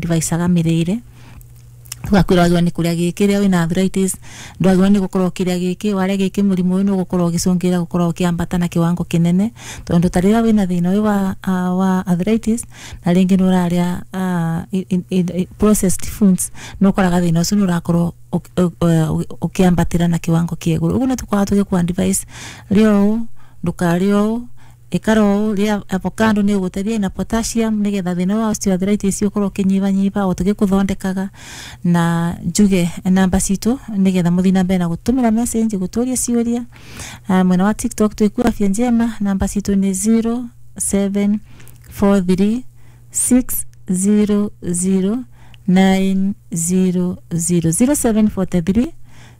advice-aga mĩrĩre. Tugakwĩra wagĩrĩirwo nĩ kũrĩa gĩkĩ rĩrĩa wĩna arthritis, ndwagĩrĩirwo nĩ gũkorwo ũkĩrĩa gĩkĩ, warĩa gĩkĩ mũrimũ ũyũ nĩ ũgũkorwo ũgĩcũngĩrĩra gũkorwo ũkĩambata na kiwango kĩnene, tondũ ta rĩrĩa wĩna thĩna ũyũ wa arthritis na rĩngĩ nĩ ũrarĩa processed foods, nĩ ũkoraga thĩna ũcio nĩ ũrakorwo ũkĩambatĩra na kiwango kĩa igũrũ. Ũguo nĩ tũkoragwo tũgĩkũ advice, rĩa ũũ, ndũkarĩe ũũ, ikara ũũ, rĩa avocado nĩ ũgũteithia ina potassium nĩgetha thĩna wa osteoarthritis ũkorwo ũkĩnyibanyiba o tũgĩkũthondekaga. Na njuge namba citũ nĩgetha mũthiĩ na mbere na gũtũmĩra message gũtũria ciũria. Mwena wa TikTok twĩkuo Afya Njema, namba citũ nĩ 0743 600 900, 0743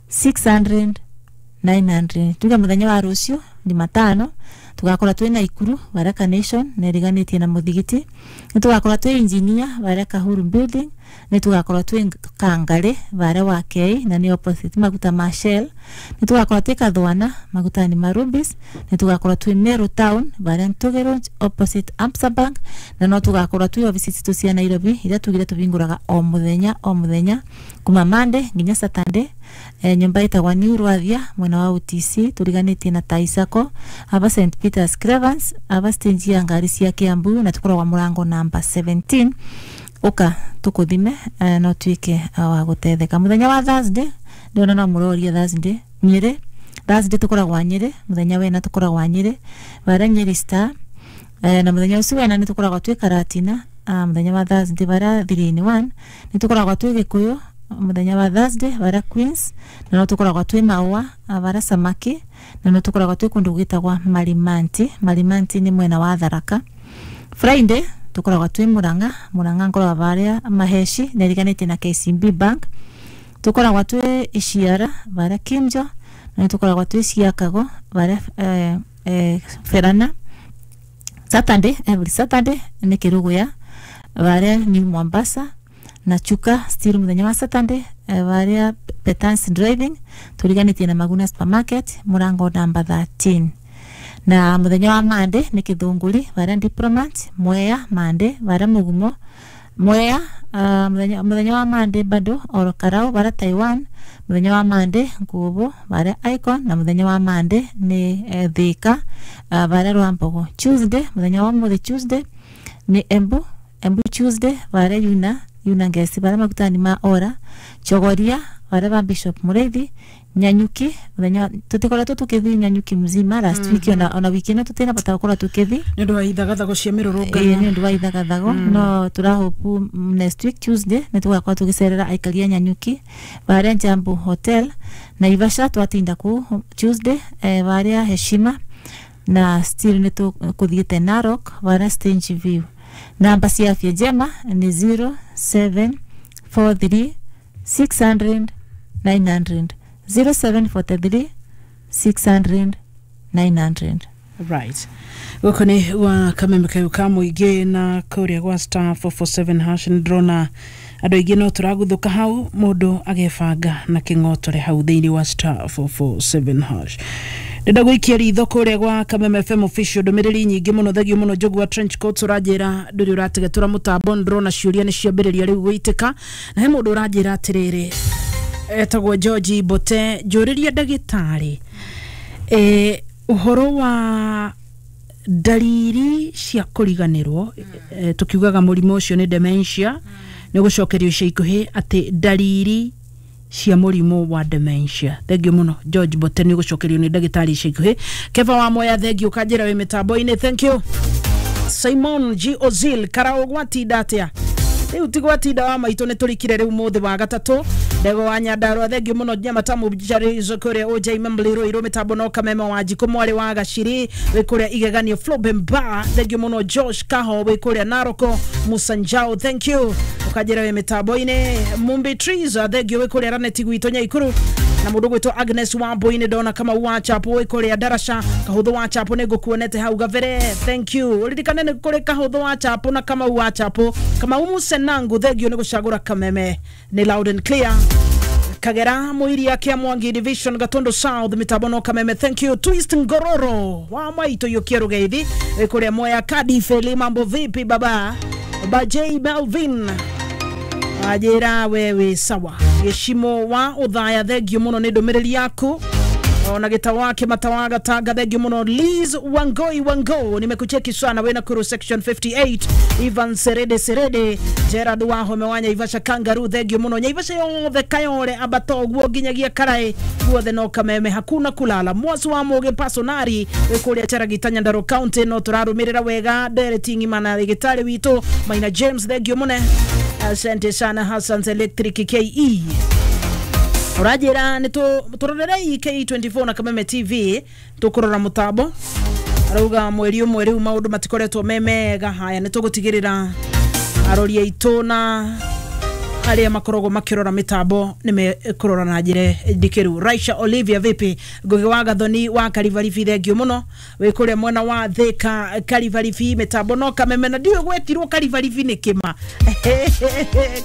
600 900. Tuge muthenya wa rucio Jumatano tugakorwo twĩ Naikuru Baraka Nation na ĩriganĩtie na mũthigiti, nĩ tugakorwo twĩ Engineer varia Kahuru Building, nĩ tugakorwo twĩ Kangari varia wa K na nĩ opposite maguta ma Shell, nĩ tugakorwo twĩ Kathwana magutani ma Rubis, nĩ tugakorwo twĩ Meru Town varia Ntuge Road opposite Absa Bank, na no tugakorwo twĩ obici citũ cia Nairobi iria tugire tũhingũraga o mũthenya o mũthenya kuma Monday nginya Saturday, nyũmba ĩtagwa New Rwathia mwena wa UTC tũriganĩtie na Taisako aba St Peters Cravens aba stage ya ngari cia Kiambu, na tũkoragwo mũrango namba 17. Ũka tũkũthime, no tuĩke wa gũtetheka. Mũthenya wa Thursday ndĩrona no mũroria Thursday Nyĩrĩ, Thursday tũkoragwo Nyĩrĩ, mũthenya wena tũkoragwo Nyĩrĩ varia Nyĩrĩ Star, na mũthenya ũcio wena nĩ tũkoragwo twĩ Karatina, mũthenya wa Thursday varia 3 in 1, nĩ tũkoragwo twĩ Gĩkũyũ mũthenya wa Thursday varia Queens, na no tũkoragwo twĩ Maũa varia Samaki, na no tũkoragwo twĩ kũndũ gwĩtagwa Marimanti. Marimanti nĩ mwena wa Tharaka. Friday tũkoragwo twĩ Murang'a, Murang'a ngoragwo varia Maheshi na ĩriganĩtie na KCB Bank. Tũkoragwo twĩ Iciara varia Kimjo, na nĩ tũkoragwo twĩ Ciakago varia Ferana. Saturday, every Saturday nĩ Kĩrũgũya varia New Mombasa, na Chuka still mũthenya wa Saturday, varia Petans Driving tũriganĩtie na Maguna Supermarket mũrango namba 13. Na mũthenya wa Monday nĩ Kĩthũngũri varia Diplomat, Mwea Monday varia Mũgumo Mwea, mũthenya wa Monday bado oro Karau varia Taiwan, mũthenya wa Monday Ngubo varia Icon, na mũthenya wa Monday nĩ Thika varia Rwambogo. Tuesday, mũthenya wa mũthĩ Tuesday nĩ Embu, Embu Tuesday varia Yuna Ngesi varia magutani ma Ora, Chogoria varia ba Bishop Mureithi, Nyanyuki mũthenya tũtikoretwo tũkĩthiĩ Nyanyuki mzima last week, ona wiki ĩno tũtinabota gũkorwo tũkĩthiĩ nĩ ũndũ wa ithagathago cia mĩrũrũngano. Nĩ ũndũ wa ithagathago, no tũrahopu next week Tuesday nĩ tũgakorwo tũgĩcerera aikari a Nyanyuki varia Jambo Hotel. Naivasha twatinda kũu Tuesday, varia Heshima, na still nĩ tũkũthiĩte Narok varia Stage View. Namba cia Afya Njema nĩ 0743 600 900, 0743 600 900. Right, gũkũ nĩ gwa kameme kayũ ka mũingĩ na kũrĩa gwa *447# nĩ ndĩrona andũ aingĩ no tũraguthũka hau, mũndũ agebanga na kĩng'otore hau thĩinĩ wa *447#. Ndĩrenda gũikia ritho kũrĩa gwa Kameme FM official, ndũmĩrĩri nyingĩ mũno, thegio mũno. Njogu wa trench coats ũranjĩra ndũrĩ ũrategetũra mũtambo, ndĩrona ciũria nĩ ciambĩrĩria rĩu gũitĩka, na he mũndũ ũranjĩra atĩrĩrĩ, etagwo George Mbote, njũrĩria ndagĩtarĩ ũhoro wa ndariri cia kũriganĩrwo, tukiugaga mũrimũ ũcio nĩ dementia, nĩ gũcokerio ica ikuhĩ atĩ ndariri cia mũrimũ wa dementia. Thengio mũno George Mbote, nĩ ũgũcokerio nĩ ndagĩtarĩ ica ikuhĩ. Keva wa Moya, thengio, ũkanjĩra wĩ mĩtambo-inĩ, thank you. Simon G Ozil Karao, gwatinda atĩa? Rĩu ti gwatinda wa maitũ, nĩ tũrikire rĩu mũthĩ wa gatatũ. Ndego wa Nyandarua, thengio mũno. Nyamatamu Jarizo kũrĩa OJ Mamliro irũ mĩtambo no Kameme wa Njikũ mwarĩ wa Gaciri wĩ kũrĩa Igeganio Flobemba, thengio mũno. Josh Kaho wĩ kũrĩa Naroko Musanjao, thank you, ũkanjĩra wĩ mĩtambo-inĩ. Mumbi Trees, thengio, wĩ kũrĩa Raneti gwitũ Nyaikuru, na mũndũ gwĩtwo Agnes Wambui-nĩ ndona Kamau wa Chapo wĩ kũrĩa Darasha, Kahũthũ wa Chapo nĩ ngũkuonete hau gabere, thank you. Ũririkane nĩ kũrĩ Kahũthũ wa Chapo na Kamau wa Chapo. Kamau Musenangu, thengio nĩ gũcagũra Kameme, nĩ loud and clear. Kagera Muiria kia Mwangi Division Gatondo South mitambo no Kameme, thank you. Twist Ngororo wa maito yokia rugeithi wĩ kũrĩa Moya Kadifeli, mambo vipi baba? Bajei Melvin. Ajira wewe sawa. Gĩcimo wa ũthaya thengio mũno nĩ ndũmĩrĩri yaku. Ona gĩta wake matawaga tanga thengio mũno. Liz Wangoi Wango nimekucheki sana we Nakuru section 58. Ivan Serede Serede Gerard Wahome wa Nyaivasha Kangaroo thengio mũno. Nyaivasha yothe Kayore ambato guo nginyagia Karai guothe no kameme hakuna kulala. Mwasu wa Muge Pasonari wĩ kũrĩa Charagita Nyandarua County no tũrarũmĩrĩra wega ndereti ng'ima na gĩtarĩ witũ Maina James thengio mũne. Asante sana Hassan's Electric KE. Ũranjĩra nĩ tũrorerei K24 na Kameme TV tũkũrora mũtambo. Arauga mweri ũmwe rĩu maũndũ matikoretwo me mega. Haya nĩ tũgũtigĩrĩra arori aitũ na arĩa makoragwo makĩrora mĩtambo nĩ mekũrora na njĩra ndikĩru. Raisha Olivia vipi? Ngugi wa Gathoni wa Karibaribi thengio mũno wĩ kũrĩa mwena wa Thika Karibaribi mĩtambo no Kameme na ndiũĩ gwetirwo Karibaribi nĩ kĩma.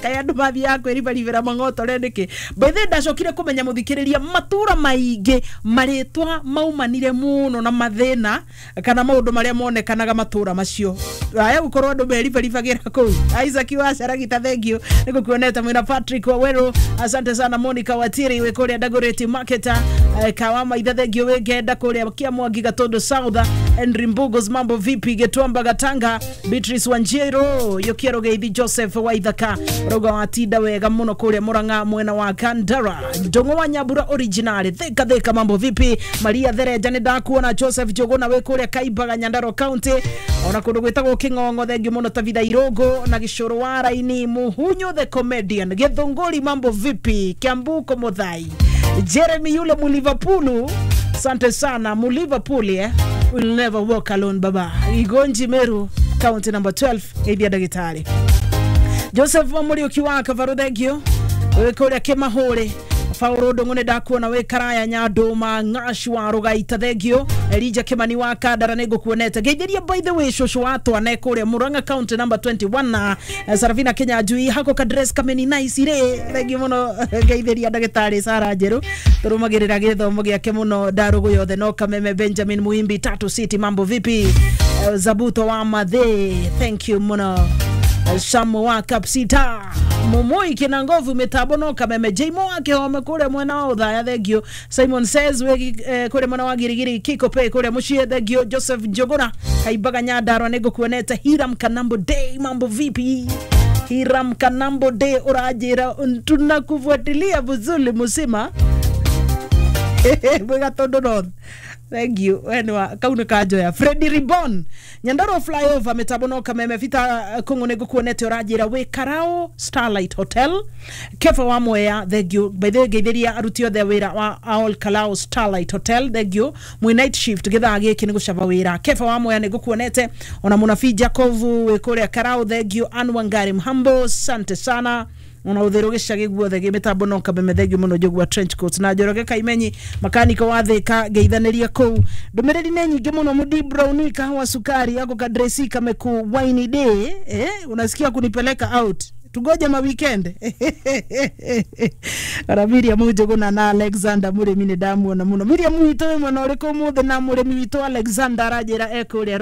Kaĩ andũ mathiaga kwĩribaribĩra mang'otore nĩkĩ? By the way ndacokire kũmenya mũthikĩrĩria matũra maingĩ marĩtwa maumanire mũno na mathĩna kana maũndũ marĩa monekanaga matũra macio. Haya gũkorwo andũ meribaribagĩra kũu. Isaac wa Caragita thengio nĩ gũkuonete mwina Patrick Waweru asante sana. Monica Watiri wĩ kũrĩa Dagoretti Marketer Kawama ithe thengio wĩ Ngenda kũrĩa Kiamwangi Gatondo South. Henry Mbugos mambo vipi? Getwamba Gatanga Beatrice Wanjiro Yokiero Geithi Joseph Waithaka rauga watinda wega mũno kũrĩa Murang'a mwena wa Kandara. Ndong'o wa Nyambura original thika thika mambo vipi? Maria Thereja nĩ ndakuona. Joseph Njuguna wĩ kũrĩa Kaimbaga Nyandarua County ona kũndũ gwĩtagwo Kĩng'ong'o thengio mũno. Tabitha Irongo na Gĩcũrũ wa Raini Muhunyu the comedian Gĩthũngũri mambo vipi? Kiambuko Muthai Jeremy yule mu Liverpool asante sana mu Liverpool will never walk alone baba. Igonji Meru county number 12 ithia ndagĩtarĩ Joseph Muriuki wa Kavaru thengio wĩ kũrĩa Kĩmahũrĩ. Paulo Ndung'u nĩ ndakuona wĩ Karaya Nyandũma Ng'aci wa Rũgaita thengio. Elija Kimani wa Kandara nĩ ngũkuonete. Ngeithĩria by the way cũcũ wa twana kũrĩa Murang'a county number 21 na Sarafina Kinyanjui hako ka dress kameni nice rĩ thengio mũno. Ngeithĩria ndagĩtarĩ Sara Njerũ tũrũmagĩrĩra gĩthomo gĩake mũno ndarũgũ yothe no Kameme. Benjamin Muimbi Tatu City mambo vipi? Zabuto wa Mathe thank you mũno. Samu wa Kapsita Mumui kina ngovu mitambo no Kameme. Jimo wake home kule mwena wa Uthaya thengio. Simon says we kule mwena wa Girigiri Kiko Pay kule muciĩ thengio. Joseph Njuguna Kaimbaga Nyandarua nĩ ngũkuonete. Hiram Kanambo Day mambo vipi? Hiram Kanambo Day ũranjĩra tunakufuatilia vizuri musima mwĩ Gatondo North. Thank you. Wenwa kau nĩ kanjoya. Freddy Ribbon Nyandarua flyover mitambo no Kameme. Vita Kung'u nĩ ngũkuonete ũranjĩra wĩ Karao Starlight Hotel. Kefa wa Mwea thank you. By the way ngeithĩria aruti othe a wĩra wa All Kalao Starlight Hotel thank you. Mwĩ night shift gĩthaa gĩkĩ nĩ gũcaba wĩra. Kefa wa Mwea nĩ ngũkuonete ona mũnabii Jacob wĩ kũrĩa Karao thank you. Ann Wangari Mhambo asante sana. Ona ũtheru gĩcagi guothe gĩ mĩtambo no Kameme thengio mũno. Njũgua trench coat na Njoroge Kaimenyi makaniko wa Thika ngeithanĩria kũu. Ndũmĩrĩri nĩ nyingĩ mũno. Mudi Brown kahawa sukari yako kadresi kameku wine day unasikia kunipeleka out tugoje ma weekend. Ara Miriam Njuguna na Alexander Murimi nĩ ndamuona mũno. Miriam witũ wĩ mwena ũrĩkũ ũmũthĩ? Na mũrĩmi witũ Alexander aranjĩra e kũrĩa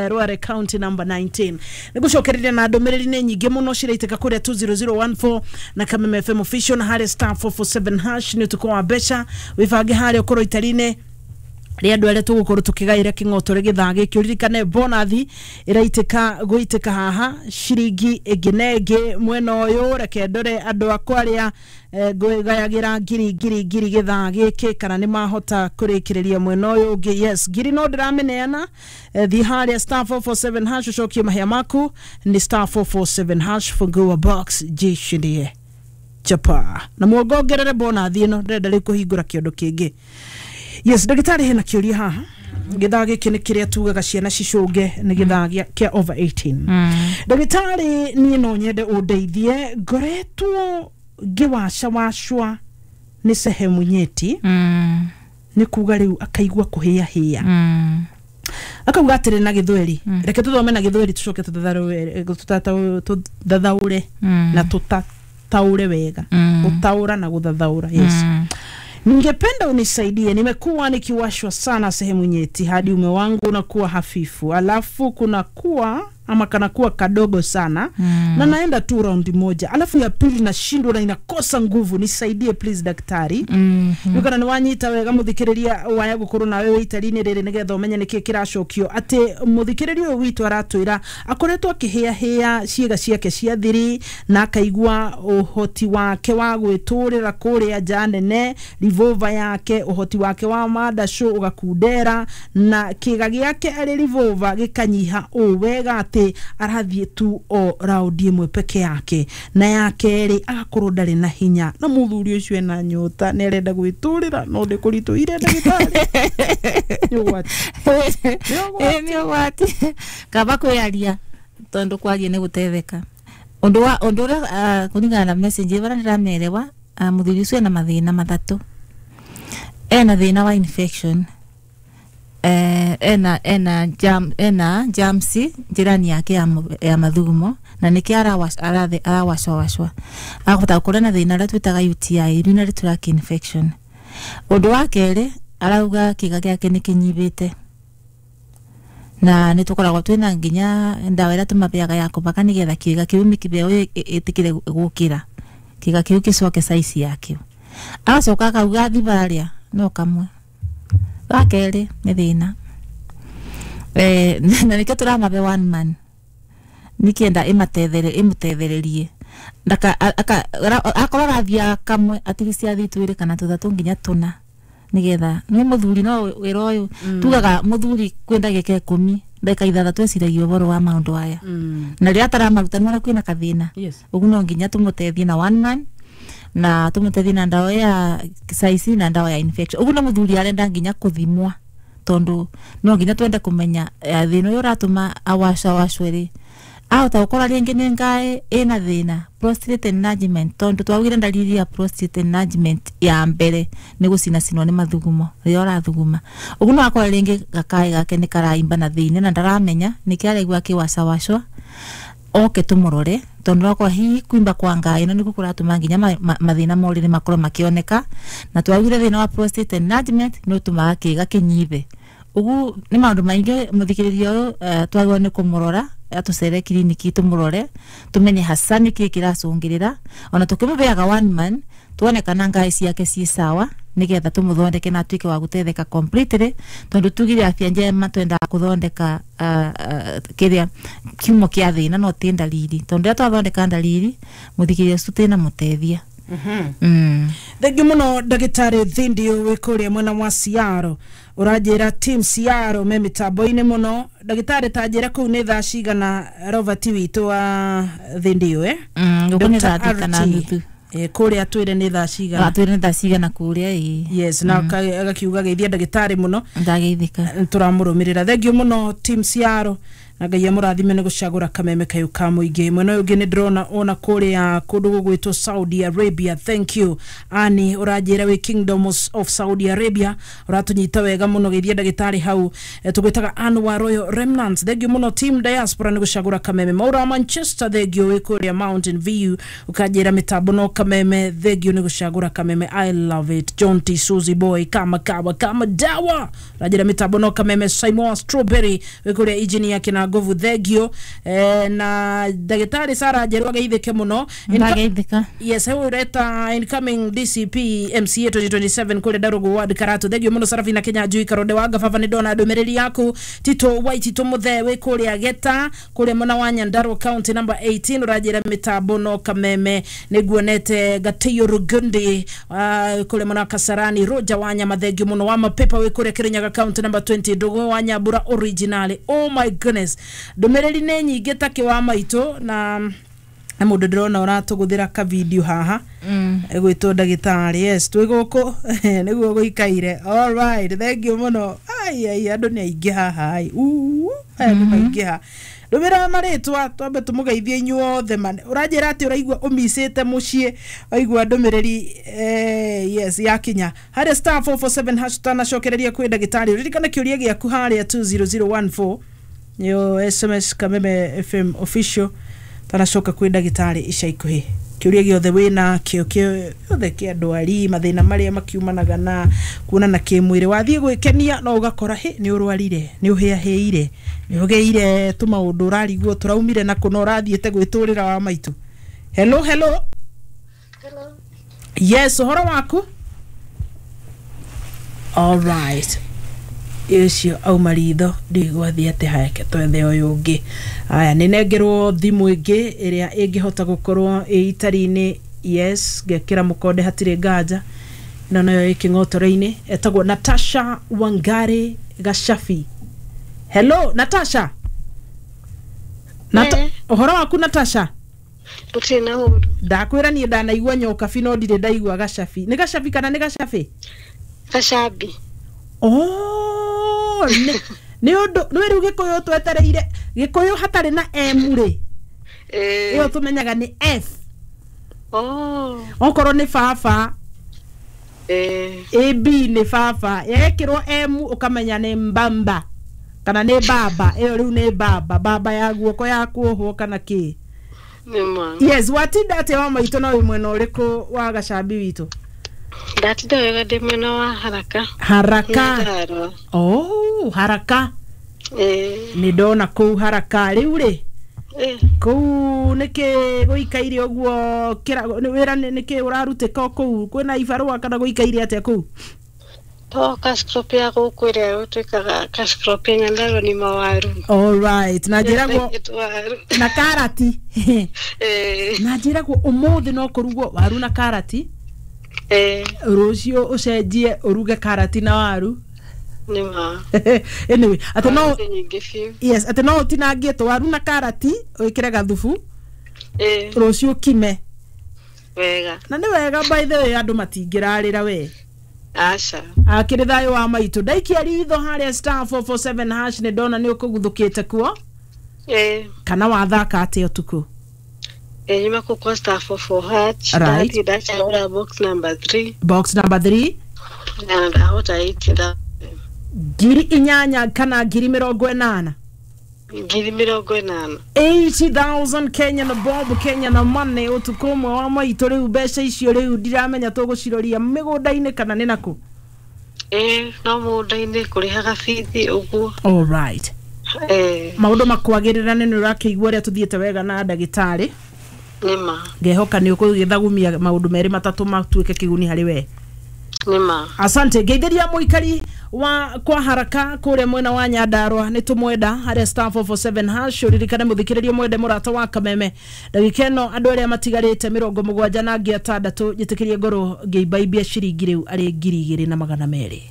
Rware county number 19. Nĩ ngũcokereria na ndũmĩrĩri nĩ nyingĩ mũno ciraitĩka kũrĩa 20014 na Kameme FM official na harĩa star 447 hash nĩ ũtukũ wa mbeca. Wĩbange harĩa ũkorwo itari-inĩ rĩa andũ arĩa tũgũkorwo tũkĩgaĩra kĩng'otore gĩthaa gĩkĩ. Ũririkane bonathi ĩraitĩka gũitĩka haha ciringi ĩngĩ na ĩngĩ mwena ũyũ. Reke ndore andũ akwa arĩa ngũgayagĩra ngiri ngiri ngiri gĩthaa gĩkĩ kana nĩ mahota kũrĩkĩrĩria mwena ũyũ ũngĩ. Yes, ngiri no ndĩramĩneana. Thiĩ harĩa star 447 hash ũcokie mahĩa maku nĩ star 447 hash fungua box jishindie chapa na muongongerere bonathi ĩno ndĩrenda rĩu kũhingũra kĩondo kĩngĩ. Yes, ndagĩtarĩ hena kĩũria haha. Gĩthaa gĩkĩ nĩ kĩrĩa tugaga ciana cicũnge nĩ gĩthaa kĩa over 18. Ndagĩtarĩ niĩ no nyende ũndeithie ngoretwo ngĩwacawacwa nĩ sehemu nyeti nĩ kuga rĩu akaigua kũhĩahĩa akauga atĩrĩ na gĩthweri. Reke tũthome na gĩthweri tũcoke tũthathaũre na tũtataũre wega. Gũtaũra na gũthathaũra. Yes. Ningependa unisaidie, nimekuwa nikiwashwa sana sehemu nyeti hadi ume wangu unakuwa hafifu, alafu kunakuwa Ama kanakuwa kadogo sana na naenda tu raundi moja, alafu ya pili nashindwa na inakosa nguvu. Nisaidie please, daktari. Kana nĩ wanyita wega, mũthikĩrĩria waya gũkorwo nawe wĩ itari-inĩ rĩrĩ nĩgetha ũmenye nĩkĩ kĩracokio, atĩ mũthikĩrĩria ũyũ witũ aratwĩra akoretwo akĩhĩahĩa ciĩga ciake cia thiri na akaigua ũhoti wake wa gwĩtũrĩra kũrĩa nja nene, revolver yake, ũhoti wake wa mandacũ ũgakundera na kĩga gĩake arĩ revolver gĩkanyiha ũũ wega atĩ arathiĩ tu o raundi ĩmwe peke yake, na ya kerĩ agakorwo ndarĩ na hinya, na mũthuri ũcio ena nyota, nĩ arenda gwĩtũrĩra no ndĩ kũritũhire. Ndagĩtarĩ, nĩ ũgwati. Ĩ, nĩ ũgwati. Kaba kwĩyaria, tondũ kwaria nĩ gũtetheka. Ũndũ wa ũndũ ũrĩa, kũringana na message ĩrĩa ndĩramerewa, mũthuri ũcio ena mathĩna matatũ. Ena thĩna wa infection, ena germs njĩra-inĩ yake ya mathugumo, na nĩkĩo arawacwawacwa. Akahota gũkorwo na thĩna ũrĩa twĩtaga UTI, urinary tract infection. Ũndũ wa kerĩ, arauga kĩga gĩake nĩ kĩnyibĩte, na nĩ tũkoragwo twĩna nginya ndawa ĩrĩa tũmabeaga ya kũbaka nĩgetha kĩga kĩu mĩkiba ĩyo ĩtĩkĩre gũkĩra, kĩga kĩu gĩcoke size yakĩo. Agacoka akauga thibarĩa no kamwe ga kerĩ nĩ thĩna, na nĩkĩo tũramabe one man nĩkĩenda ĩmatethere ĩmũtethererie. Akorwo arathiaga kamwe, atigisi athiĩ twĩrĩ kana tũthatũ nginya tũna, nĩgetha nĩ mũthuri no wĩra ũyũ tugaga mũthuri kwĩ ndagĩka 10, ndagĩka 6 eciragia ũhoro wa maũndũ aya, na rĩrĩa ataramaruta nĩwona kwĩna kathĩna. Ũguo no nginya tũmũteithie na one man na tũmũteithie na ndawa ya saici na ndawa ya infection. Ũguo no mũthuri arenda nginya kũthimwa, tondũ no nginya twende kũmenya thĩna ũyũ ũratũma awacawacwe rĩ, ahota gũkorwo rĩngĩ nĩ ngaĩ ĩna thĩna, prostate enlargement, tondũ twaugire ndariri ya prostate enlargement ya mbere nĩ gũcinacinwo nĩ mathugumo rĩrĩa ũrathuguma. Ũguo no akorwo rĩngĩ gakaĩ gake nĩ karaimba na thĩinĩ na ndaramenya nĩkĩo araigua akĩwacawacwa. Oke tũmũrore, tondũ nokorwo hihi kuimba kwa ngaĩ ĩno nĩkuo kũratũma nginya mathĩna ma ũrĩrĩ makorwo makĩoneka, na twaugire thĩna wa prostate enlargement nĩ ũtũmaga kĩga kĩnyibe. Ũguo nĩ maũndũ maingĩ mũthikĩrĩria ũyũ, twagĩrĩirwo nĩ kũmũrora, atũcere kiriniki tũmũrore, tũmenye hasa nĩkĩĩ kĩracũngĩrĩra, ona tũkĩmũbeaga one man tuone kana ngaĩ ciake ciĩ sawa, nĩgetha tũmũthondeke na atuĩke wa gũtetheka completely, tondũ tugire afya njema twendaga kũthondeka kĩrĩa kiumo kĩa thĩna, no ti ndariri, tondũ rĩrĩa twathondeka ndariri, mũthikĩrĩria ũcio tĩna mũteithia. Thengiũ mũno, ndagĩtarĩ Thindio wĩ kũrĩa mwena wa Ciaro. Ũranjĩra team Ciaro me mĩtambo-inĩ mũno. Ndagĩtarĩ, ta njĩra kũu nĩ thaa cigana, Robert witũ wa Thindio, eh? Gũkũ nĩ Dr. thaa thita na RT. nuthu. Kũrĩa twĩre nĩ thaa cigana? Twĩre nĩ thaa cigana kũrĩa, ĩ. Yes, na agakiuga geithia ndagĩtarĩ mũno. Ndageithĩka. Tũramũrũmĩrĩra. Thengiũ mũno, team Ciaro, na Ngai amũrathime nĩ gũcagũra kameme kayũ ka mũingĩ. Mwena ũyũ ũngĩ nĩ ndĩrona ona kũrĩa kũndũ gũgwĩtwo Saudi Arabia. Thank you, ani ũranjĩra wĩ Kingdom of Saudi Arabia, ũratũnyita wega mũno. Geithia ndagĩtarĩ hau. Tũgwĩtaga Anwar Royal Remnants. Thengiũ mũno, team diaspora, nĩ gũcagũra kameme. Maura wa Manchester, thengiũ, wĩ kũrĩa Mountain View, ũkanjĩra mĩtambo no kameme. Thengiũ nĩ gũcagũra kameme, I love it. John T Suzy Boy, kama kawa kama dawa, ũranjĩra mĩtambo no kameme. Simon Strawberry wĩ kũrĩa engineer kina nguvu, thengiũ. Na ndagĩtarĩ Sara Njerũ ageithĩke mũno. Ndageithĩka. Yes, hau ureta incoming DCP MCA 2027 kũrĩa Ndarugu Ward Karatu. Thengiũ mũno, Sarafina Kenya Njui Karonde wa Ngababa, nĩ ndona ndũmĩrĩri yaku. Tito Waitito Mũthee wĩ kũrĩa Geta, kũrĩa mwena wa Nyandarua, county number 18, ũranjĩra mĩtambo no kameme. Nĩ nguonete Gatĩyo Rugundi, kũrĩa mwena wa Kasarani. Roger wa Nyama, thengiũ mũno. Wa Mapepa wĩ kũrĩa Kirinyaga, county number 20. Ndũgũ wa Nyambura original. Oh my goodness, ndũmĩrĩri nĩ nyingĩ takĩ wa maitũ, na mũndũ ndĩrona ũratũgũthĩra ka video haha ĩgwĩtwo ndagĩtarĩ. Yes, twĩ gũkũ nĩguo gũikaire. Alright, thank you mũno. Ai ai, andũ nĩ aingĩ haha, ai. Uu, aya nĩ maingĩha. Ndũmĩra marĩtwa twambe tũmũgeithie inyuothe. Man, ũranjĩra atĩ ũraigua ũmicĩte mũciĩ waigua ndũmĩrĩri. Yes, yakinya harĩa *447#. Tanacokereria kwĩ ndagĩtarĩ, ririkana kĩũria gĩaku harĩa 20014, nĩyo SMS Kameme FM official. Tanacoka kwĩ ndagĩtarĩ ica ikuhĩ. Kĩũria gĩothe wĩna kĩo gĩothe kĩa ndwari, mathĩna marĩa makiumanaga na kuonana kĩmwĩrĩ, wathiĩ gwĩkenia no ũgakora hĩ nĩ ũrwarire, nĩ ũhĩahĩire, nĩ ũgĩire tũmaũndũ ũrarigwo tũraumire na kũna ũrathiĩte gwĩtũrĩra wa maitũ. Hello, hello. Hello. Yes, ũhoro waku? All right, ũcio auma ritho, ndigwathiĩ atĩ hake twethe ũyũ ũngĩ. Aya, nĩ nengerwo thimũ ĩngĩ ĩrĩa ĩngĩhota gũkorwo ĩ itari-inĩ. Yes, ngekĩra mũkonde, hatirĩ nganja, ĩno nayo ĩ kĩng'otore-inĩ, etagwo Natasha Wangari Gacabi. Hello Natasha. Eh. Ũhoro waku Natasha? Gũtirĩ na ũru. Ndakwĩra niĩ ndanaigua nyokabi no ndirĩ ndaigua gacabi. Nĩ gacabi kana nĩ gacabi? Gacambi. Oh, nĩ ũndũ nĩ rĩu gĩkũyũ twetereire gĩkũyũ hatarĩ na M rĩ, ĩyo tũmenyaga nĩ F. Oh. Okorwo nĩ baba, AB nĩ baba, yekĩrwo M ũkamenya nĩ mbamba kana nĩ baba. Ĩyo rĩu nĩ baba, baba ya guoko ya kuohwo kana kĩ. Nĩ ma. Yes, watinda atĩa wa maitũ, na wĩ mwena ũrĩkũ wa gacambi witũ? Ndatinda wega, ndĩ mwena wa Haraka. Haraka. Nyandarua. Oh, Haraka. Eh. Nĩ ndona kũu Haraka rĩu rĩ, kũu nĩkĩ gũikaire ũguo wĩra nĩkĩ ũrarutĩka o kũu, kwĩna ibarũa kana gũikaire atĩa kũu? To cash crop ya gũkũ ĩrĩa twĩkaga cash crop ya Nyandarua nĩ mawaru. Alright, na njĩragwo Waru. na karati. Na njĩragwo ũmũthĩ no kũrugwo waru na karati, rũciũ ũcenjie ũruge karati na waru. Nĩ ma. Anyway, atĩ no Waru nyingĩ biũ. Yes, atĩ no ũtinangie tũwaru na karati wĩkĩre gathubu, rũciũ kime. Wega. Na nĩ wega, by the way, andũ matingĩrarĩra we. Aca. Akĩrĩ thayũ wa maitũ, ndaikia ritho harĩa *447 hash, nĩ ndona nĩ ũkũguthũkĩte kuo. Kana wathaka atĩa ũtukũ? Nyuma kũ kwa *44 hash. Right. Ndathiĩ ndacagũra box number 3. Box number 3. Na ndahota 80,000. 8,000 kana 80,000? 80,000. 80,000 Kenya na bob, Kenya na money, ũtukũ ũmwe wa maitũ. Rĩu mbeca icio rĩu ndiramenya tũgũciroria mĩgũnda-inĩ kana nĩ nakũ. No mũgũnda-inĩ, kũrĩhaga bithi ũguo. Alright. Maũndũ makwagĩrĩra, nĩ ũrakĩigua ũrĩa tũthiĩte wega na ndagĩtarĩ. Nĩ ma. Ngehoka nĩ ũkũgĩthagumia maũndũ merĩ matatũ matuĩke kĩguni harĩ we. Nĩ ma. Asante, ngeithĩria mũikari wa kwa Haraka kũrĩa mwena wa Nyandarua, nĩ tũmwenda harĩa *447 hash. Ũririkane mũthikĩrĩrie mwende mũrata wa Kameme ndagĩka ĩno, andũ arĩa matigarĩte 76 na angĩ 6, njĩtĩkĩrie ngorwo ngĩimbaimbia ciringi rĩu arĩ 2,200.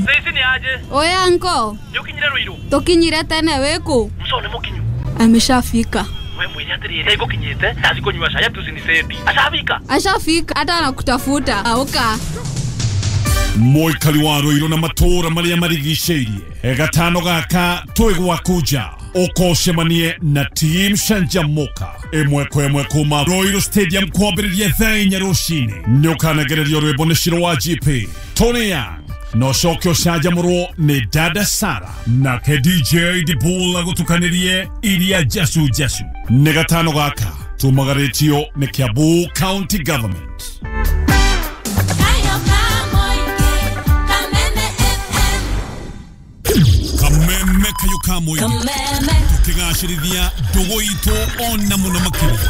Saizi ni aje? Oya anko, Nĩ ũkinyire Ruiru? tukinyire tene, wĩkũ? Mco nĩ mũkinyu. Ameshafika. We mwĩre atĩrĩrĩ, ngũkinyĩte ndathi kũnyua cai atucinicedi. Ashafika. Ashafika hata anakutafuta. Auka. Mũikari wa Rũirũ na matũũra marĩa marigicĩirie, gatano gaka twĩ gwaku nja, ũkocemanie na team Canjamuka ĩmwe kwa ĩmwe kuma Ruiru Stadium kwambĩrĩria thaa 4 rũcinĩ. Nĩ ũkanegererio rwĩmbo nĩ Shiro wa GP Tony Young, na ũcoke ũcanjamũrwo nĩ Dada Sara, nake DJ Dibul agũtukanĩrie iria jacu jacu. Nĩ gatano gaka tumagarĩtio nĩ Kiambu County Government. Kameme kayo ka mũingĩ, tũkĩgacĩrithia ndũgũ itũ ona mũno makĩria.